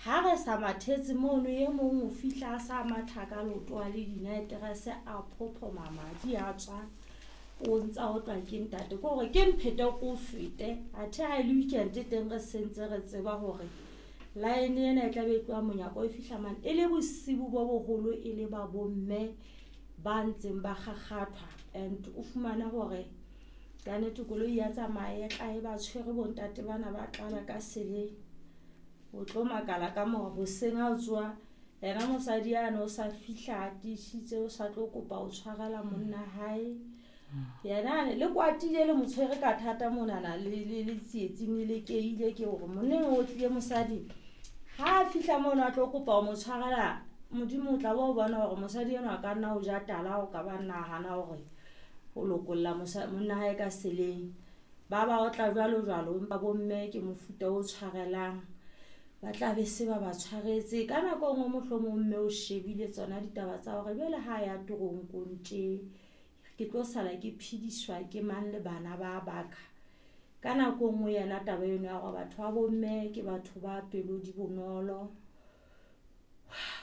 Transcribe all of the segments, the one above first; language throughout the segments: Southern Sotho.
Ha re sa mathetse mono, e mong o fihla a sa matha ka leoto a le dinaeterese a phophoma madi a tswa, o ntsa otlwa ke ntate. Ke hore ke mphete ko o fete, athe ha e le weekend teng re sentse re tseba hore line ena e tla be e tloha monyako e fihla mane. E le bosibu bo boholo, e le ba bomme ba ntseng ba kgakgathwa, and o fumane hore kannete koloi ya tsamaya e tla e ba tshwere bontate bana ba tlala ka seleng. O tlo makala ka mora hoseng ha o tsoha, yena mosadi yane o sa fihla a tiisitse, o sa tlo kopa ho tshwarela monna hae. Yena le kwatile le mo tshwere ka thata monana le tsietsing le lekeile ke hore monneng o tlile mosadi. Ha a fihla mono a tlo kopa ho mo tshwarela, Modimo o tla bo bona hore mosadi enwa a ka nna o ja tala, o ka ba nahana hore o lokolla monna hae ka seleng. Ba ba otla jwalo jwalo, empa bomme ke mofuta o tshwarelang, ba tla be se ba ba tshwaretse. Ka nako e nngwe mohlomong mme o shebile tsona ditaba tsa hore jwale ha ya toronkong tje, ke tlo sala ke phediswa ke mang le bana ba baka. Ka nako e nngwe yena taba eno ya hore batho ba bomme ke batho ba pelo di bonolo,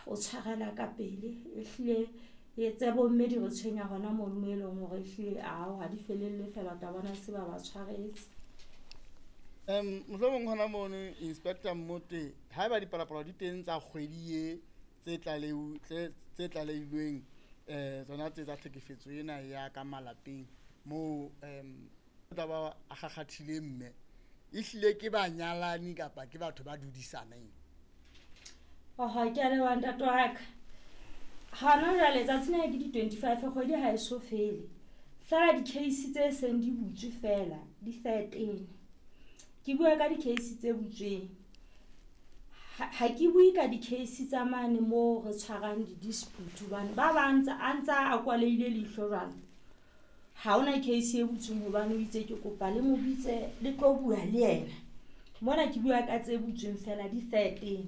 o tshwarela ka pele. Ehlile e tse bomme di re tshwenya hona mono mo e leng hore ehlile ao ha di felelle fela, o tla bona se ba ba tshwaretse. Mohlomong hona mono Inspector Mmote, haeba dipalopalo di teng tsa kgwedi e tse tlalehilweng, tsona tse tsa tlhekefetso ena ya ka malapeng moo tla ba a kgakgathile mme, ehlile ke banyalani kapa ke batho ba dudisaneng? Oho, ke a leboha ntate wa ka. Hona jwale tsatsi lena ke di-25, kgwedi ha e so fele. Feela di-case tse seng di butswe fela di 13. Ke bua ka di-case tse butsweng. Ha ke bue ka di-case tsa mane moo re tshwarang di-dispute, hobane ba bang a ntsa a kwalehile leihlo jwalo. Ha hona case e butsweng hobane o itse ke kopa le mo bitse le tlo bua le yena. Mona ke bua ka tse butsweng fela di 13.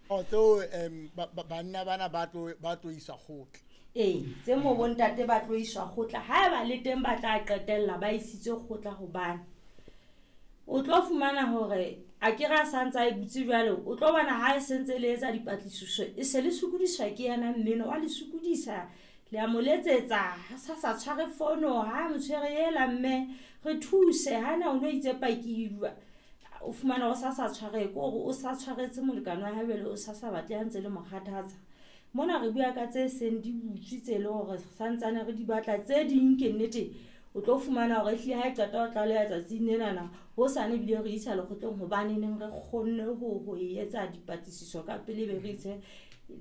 Tseo banna bana ba tlo iswa kgotla. Ee, tse mo bontate ba tlo iswa kgotla. Haeba le teng ba tla qetella ba isitswe kgotla, hobane o tlo fumana hore a ke re a santse a e butse jwale, o tlo bona ha e sentse le etsa dipatlisiso, e se le sokodiswa ke yena mmeno wa le sokodisa, le a mo letsetsa, ha sa sa tshware fono, ha mo tshwere ela mme re thuse, ha na o no itse paki o fumana o sa sa tshware, ke hore o sa tshwaretse molekane wa hae jwale, o sa sa batle ha ntse le mo kgathatsa. Mona re bua ka tse seng di butswe tse leng hore santsane re di batla, tse ding ke nnete o tlo fumana hore ehlile ha e qeta ho tlaleha tsatsing lenana, hosane ebile re isa lekgotleng hobane neng re kgonne ho etsa dipatlisiso ka pele, be re ise,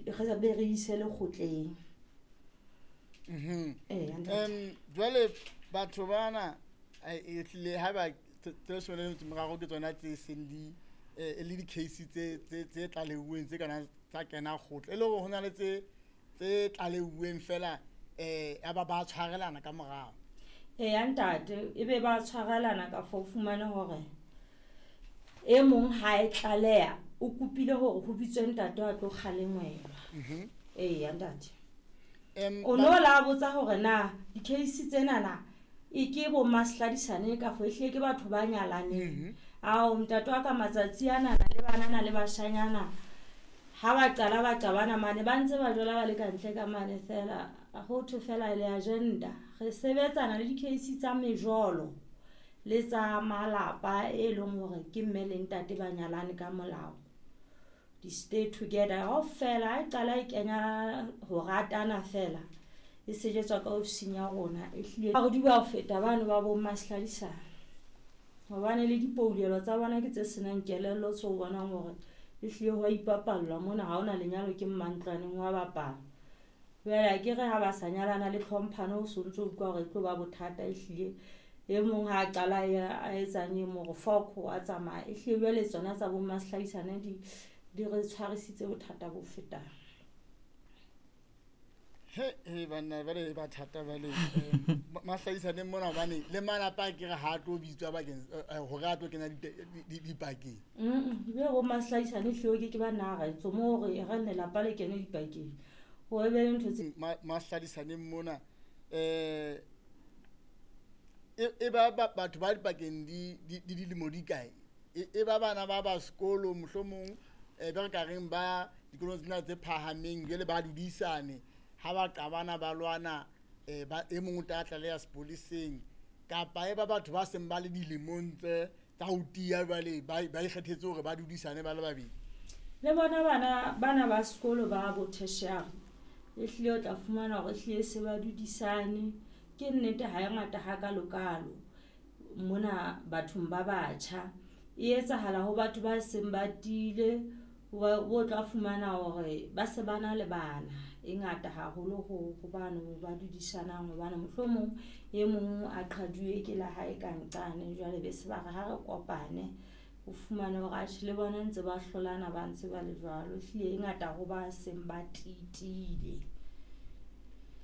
re be re ise lekgotleng. Jwale batho bana ehlile ha ba tse leshome le metso e meraro ke tsona tse seng di e le di-case tse tlaleuweng tse kana tsa kena kgotla, e le hore ho na le tse tlaleuweng fela ya ba ba tshwarelana ka morao. Eya ntate, e be ba tshwarelana ka fo fumane hore e mong ha e tlaleha o kopile hore ho bitswe ntate a tlo kgalengwelwa. Eya ntate. O no la botsa hore na di-case tsenana e ke bo masladisane ka fo ehlile ke batho ba nyalaneng. Ao ntate wa ka matsatsi ana le banana le bashanyana ha ba qala ba qabana mane ba ntse ba jola ba le ka ntle ka mane fela, ho thwe fela le agenda. Re sebetsana le di-case tsa mejolo le tsa malapa e leng hore ke mme le ntate ba nyalane ka molao. Di stay together kaofela, ha e qala e kenya ho ratana fela e sejetswa ka ofising ya rona. Ehlile ha re di bua ho feta bano ba bo masladisane, hobane le dipoulelo tsa bona ke tse senang kelello tse o bonang hore ehlile ho a ipapallwa mona, ha hona lenyalo ke mmantlwaneng wa bapala. Jwale ha ke re ha ba sa nyalana le tlhomphano, o so ntso utlwa hore e tlo ba bothata. Ehlile e mong ha a qala a etsang e mong hore foko wa tsamaya. Ehlile jwale tsona tsa bo mahlaisane di re tshwarisitse bothata bo fetang. He banna ba le ba thata ba le mahlaisaneng mona, hobane le malapa a ke re ha tlo bitswa bakeng hore a tlo kena dipakeng. Be bo mahlaisane hleo ke ba nna re tso mo re re lelapa le kene dipakeng. Ho be le ntho tse mahlaisaneng mona e ba batho ba dipakeng di dilemo di kae? E ba bana ba ba sekolo mohlomong be re ka reng ba dikolong tsena tse phahameng jwale ba dudisane ha ba qabana ba lwana ba e mong o tla tlaleha sepoleseng kapa e ba batho ba seng ba le dilemong tse tsa ho tiya jwale ba ikgethetse hore ba dudisane ba le babedi. Le bona bana ba sekolo ba bo tertiary ehlile o tla fumana hore ehlile se ba dudisane. Ke nnete ha e ngata hakalokalo mona bathong ba batjha. E etsahala ho batho ba seng ba tiile, o tla fumana hore ba se ba na le bana. E ngata haholo ho bano ba dudisanang hobane mohlomong e mong a qhaduwe ke la hae ka nqane jwale be se ba re ha re kopane. O fumane hore atjhe le bona ntse ba hlolana ba ntse ba le jwalo. Ehlile e ngata ho ba seng ba tiile.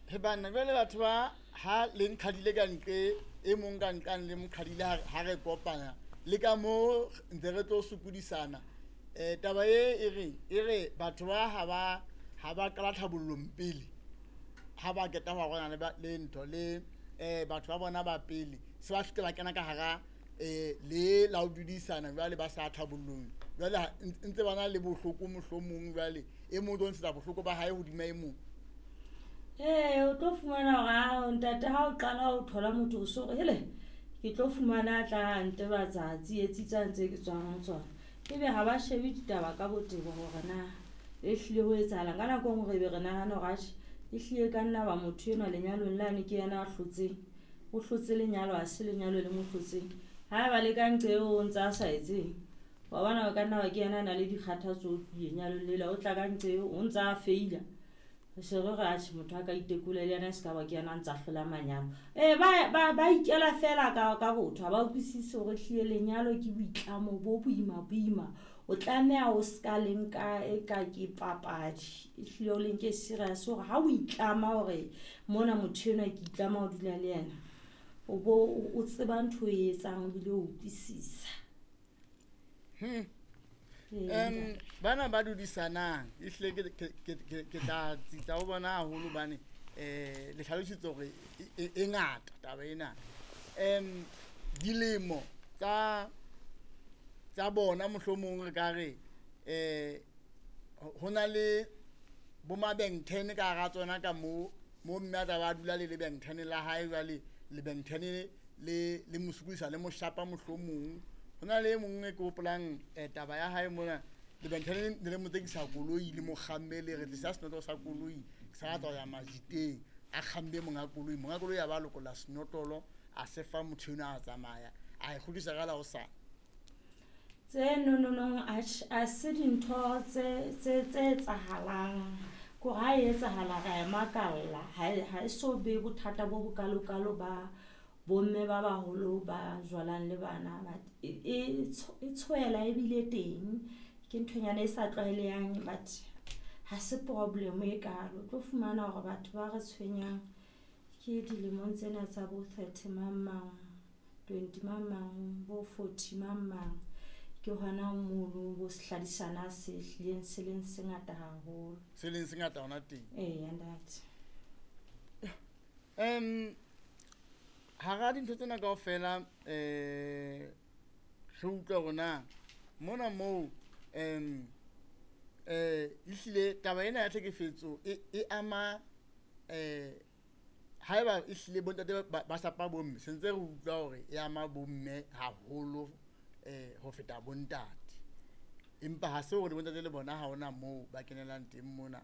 He banna jwale batho ba ha le nqhadile ka nqe e mong ka nqane le moqhadile ha re kopana le ka mo ntse re tlo sokodisana. Taba e re batho ba ha ba qala tlhabollong pele ha ba qeta ho arolana le ntho le batho ba bona ba pele se ba fihla ba kena ka hara le la ho dudisana jwale ba sa tlhabollong jwale ntse ba na le bohloko mohlomong jwale e mong o tlo ntshetsa bohloko ba hae hodima e mong. Ee, o tlo fumana hore ntate ha o qala ho thola motho o so re hele ke tlo fumana a tla ntebatsa tsietsi tsa ntse ke tswang ho tsona. Ebe ha ba shebe ditaba ka botebo hore na ehlile ho etsahalang. Ka nako e nngwe re be re nahana hore atjhe ehlile ka nna ba motho enwa lenyalong lane ke yena a hlotseng. O hlotse lenyalo ha se lenyalo le mo hlotseng. Ha ba le ka nqe eo o ntse a sa etseng. Wa bona o ka nna ba ke yena a na le dikgathatso o tlile lenyalong lela o tla ka nqe eo o ntse a feila. Se re re atjhe motho a ka itekola le yena e se ka ba ke yena a ntse a hlola manyalo. Ba ikela fela ka botho ha ba utlwisise hore ehlile lenyalo ke boitlamo bo boima boima. O tlameha o ska le nka e ka ke papadi. Ehlile o le nke serious hore ha o itlama hore mona motho enwa ke itlama ho dula le yena. O bo o tseba ntho e etsang ebile o utlwisisa. Bana ba dudisanang ehlile ke tla tsitsa ho bona haholo hobane le hlalositse hore e ngata taba ena. Dilemo tsa bona mohlomong re ka re ho na le bo mabengthene ka hara tsona ka mo mme a tla ba dula le lebengthene la hae jwale lebengthene le mo sokodisa le mo shapa mohlomong. Ho na le e mong e ke hopolang taba ya hae mona lebengthene le mo tsekisa koloi le mo kgamme le re tlisa senotlolo sa koloi ke sa batla ho ya majiteng a kgamme monga koloi a ba lokolla senotlolo a se fa motho enwa a tsamaya a e kgutlisa ka la hosane. Tse nononong a se dintho tse etsahalang. Kore ha e etsahala ra e makalla. Ha e so be bothata bo bokalokalo ba bomme ba baholo ba jwalang le bana. E tshwela ebile teng. Ke nthonyana e sa tlwaelehang but ha se problem e kalo. O tlo fumana hore batho ba re tshwenyang ke dilemong tsena tsa bo 30 mang mang, 20 mang mang, bo 40 mang mang. Ke hona mono bo sehladisana se hlileng se leng se ngata haholo. Se leng se ngata hona teng. Eya ntate. Hara dintho tsena kaofela re utlwa hore na mona moo ehlile taba ena ya tlhekefetso e ama haeba ehlile bontate ba shapa bomme se ntse re utlwa hore e ama bomme haholo ho feta bontate. Empa ha se hore bontate le bona ha hona moo ba kenelang teng mona.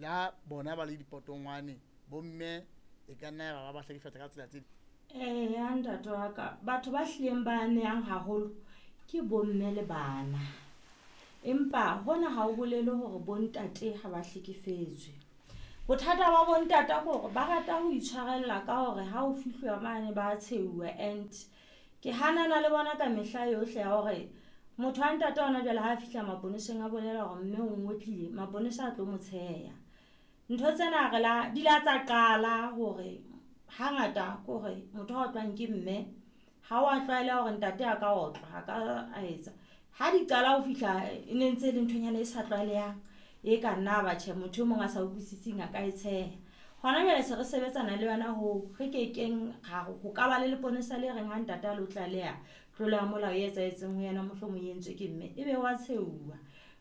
Le ha bona ba le dipotongwane bomme e ka nna ya ba hlekefetsa ka tsela tse. Eya ntate wa ka, batho ba hlileng ba amehang haholo ke bomme le bana. Empa hona ha o bolele hore bontate ha ba hlekefetswe. Bothata ba bontate ke hore ba rata ho itshwarella ka hore ha o fihluwa mane ba tshehuwa and ke hanana le bona ka mehla yohle ya hore motho wa ntate hona jwale ha a fihla maponeseng a bolela hore mme o ngotlile, maponesa a tlo mo tsheha. Ntho tsena re la di la tsa qala hore hangata ke hore motho a otlwang ke mme ha wa tlwaela hore ntate a ka otlwa, a ka a etsa. Ha di qala ho fihla e ne ntse e le nthonyana e sa tlwaelehang e ka nna ba tjhe motho e mong a sa utlwisising a ka e tsheha. Hona jwale se re sebetsana le yona ho re kekeng ra ho ka ba le leponesa le reng ha ntate a lo tlaleha Tlolo ya molao e etsahetseng ho yena mohlomong e entswe ke mme, ebe wa tsheuwa.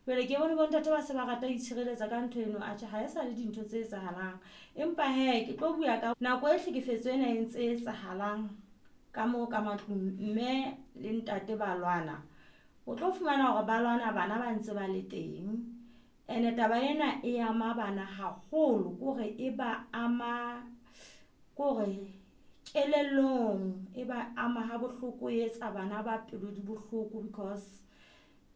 Jwale ke bone bontate ba se ba rata ho itshireletsa ka ntho eno, atjhe ha e sa le dintho tse etsahalang. Empa hee ke tlo bua ka nako e tlhekefetso ena e ntse etsahalang ka moo ka matlung, mme le ntate ba lwana. O tlo fumana hore ba lwana bana ba ntse ba le teng. Ene taba ena e ama bana haholo, ke hore e ba ama ke hore kelellong, e ba ama ha bohloko, e etsa bana ba pelo di bohloko because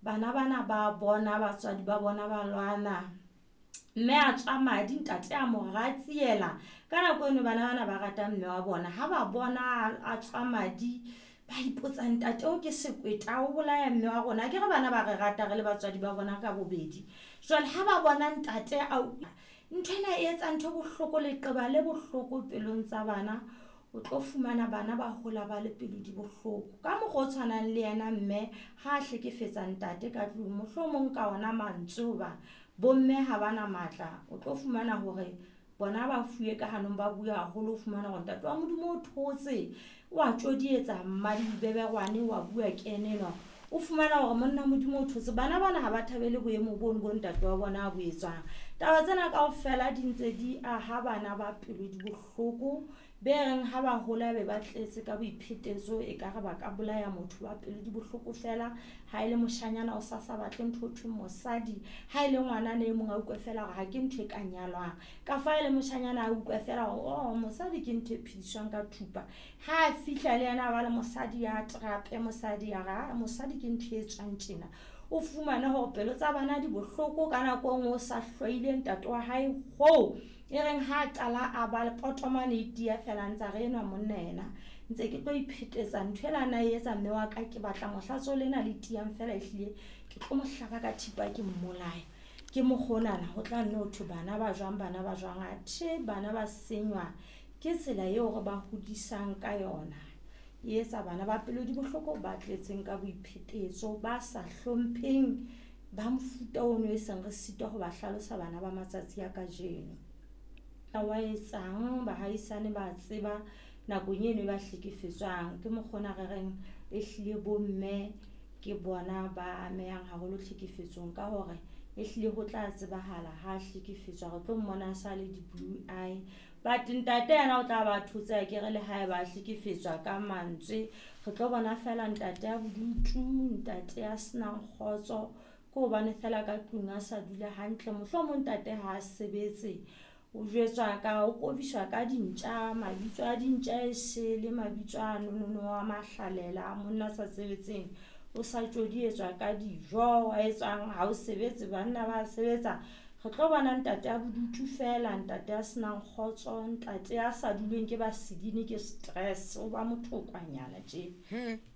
bana bana ba bona batswadi ba bona ba lwana. Mme a tswa madi, ntate a mo ratsiela. Ka nako eno bana bana ba rata mme wa bona. Ha ba bona a tswa madi, ba ipotsa ntate o ke sekweta o bolaya mme wa rona. Akere bana ba re rata re le batswadi ba bona ka bobedi. Jwale ha ba bona ntate a nthwena e etsa ntho e bohloko, leqeba le bohloko pelong tsa bana. O tlo fumana bana ba hola ba le pelo di bohloko. Ka mokgwa o tshwanang le yena mme ha a hlekefetsa ntate ka tlung, mohlomong ka ona mantswe hoba bomme ha bana matla. O tlo fumana hore bona ba fuwe ka hanong, ba bua haholo. O fumana hore ntate wa Modimo o thotse, wa tjodietsa mmadibeberwane, wa bua ke ena enwa. O fumana hore monna Modimo o thotse. Bana bana ha ba thabele boemo bono bo ntate wa bona a bo etsang. Taba tsena kaofela di ntse di aha bana ba pelo di bohloko, be reng ha ba hola be ba tletse ka boiphetetso, ekare ba ka bolaya motho ba pelo di bohloko fela. Ha e le moshanyana o sa sa batle ntho ho thweng mosadi, ha e le ngwanana e mong a utlwe fela hore ha ke ntho e ka nyalwang. Ka fa e le moshanyana a utlwe fela hore oh mosadi ke ntho e phediswang ka thupa. Ha a fihla le yena a ba le mosadi ya trape, mosadi ya re mosadi ke ntho e tswang tjena. O fumane hore pelo tsa bana di bohloko ka nako e nngwe o sa hloile ntate wa hae hoo e reng ha a qala a ba le potomane e tiya fela ntsa re enwa monna yena ntse ke tlo iphetetsa ntho ena na e etsa mme wa ka, ke batla mohlatso lena le tiyang fela ehlile ke tlo mo hlaba ka thipa ke mmolaya. Ke mokgonana ho tla nne ho thwe bana ba jwang, bana ba jwang, athe bana ba senywa ke tsela eo re ba hodisang ka yona. E etsa bana ba pelo di bohloko, ba tletseng ka boiphetetso, ba sa hlompheng, ba mofuta ono e seng re sitwa ho ba hlalosa bana ba matsatsi a kajeno. Wa etsang bahaisane ba tseba nakong eno e ba hlekefetswang. Ke mokgona re reng ehlile bomme ke bona ba amehang haholo tlhekefetsong, ka hore ehlile ho tla tsebahala ha hlekefetswa, re tlo mmona sa le di-blue eye. But ntate yena o tla ba thotse akere le hae ba hlekefetswa ka mantswe, re tlo bona fela ntate ya bodutu, ntate ya senang kgotso, ke hobane fela ka tlung a sa dula hantle. Mohlomong ntate ha a sebetse, o jwetswa ka, o kobiswa ka dintja, mabitso a dintja e sele, mabitso a nonono wa mahlalela, monna a sa sebetseng, o sa tjodietswa ka dijo, wa etswang ha o sebetse, banna ba sebetsa. Re tlo bona ntate ya bodutu fela, ntate ya senang kgotso, ntate ya sa duleng ke basedine ke stress, o ba mothokwanyana tje.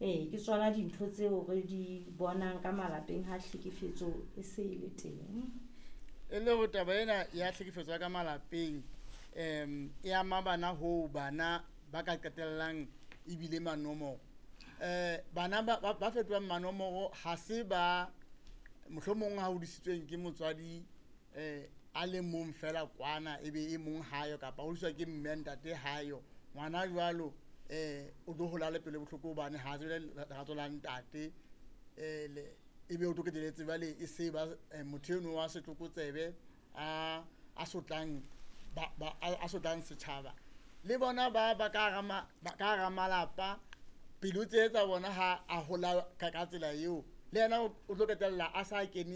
Ee, ke tsona dintho tseo re di bonang ka malapeng ha tlhekefetso e se e le teng. E le hore taba ena ya tlhekefetso ya ka malapeng e ama bana hoo bana ba ka qetellang ebile manomoro. Bana ba fetohang manomoro ha se ba mohlomong ha hodisitsweng ke motswadi a le mong fela kwana, ebe e mong hayo, kapa hodiswa ke mme ntate hayo. Ngwana jwalo o tlo hola le pelo bohloko hobane ha tsebe lerato la ntate, ebe o tlo qetelletse jwale e se ba motho eno wa setlokotsebe a sotlang a sotlang setjhaba. Le bona ba ka hara malapa, pelo tse tsa bona ha a hola ka tsela eo, le yena o tlo qetella a sa kene